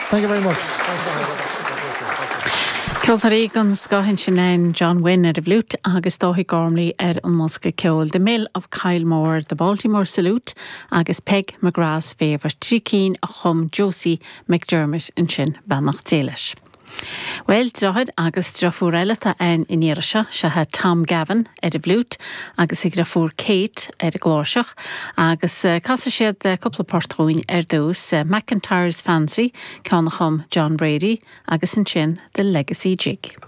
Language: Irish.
Thank you very much. Ceoltóirí den scoth ansin ann, John Wynne ar an bhfliúit agus Dáithí Gormley ar an mbosca ceoil, The Mill of Kylemore, The Baltimore Salute agus Peg McGrath's Favourite, 3 cinn a chum Josie McDermott ansin, beannacht Dé leis. Bhuel, deartháir agus deirfiúr eile atá ann an iarraidh seo, seo é Tom Gavin ar an bhfliúit agus a dheirfiúr Kate ar an gcláirseach agus casfaidh siad cúpla port dhúinn ar dtús, McIntyre's Fancy, ceann a chum John Brady agus ansin The Legacy Jig.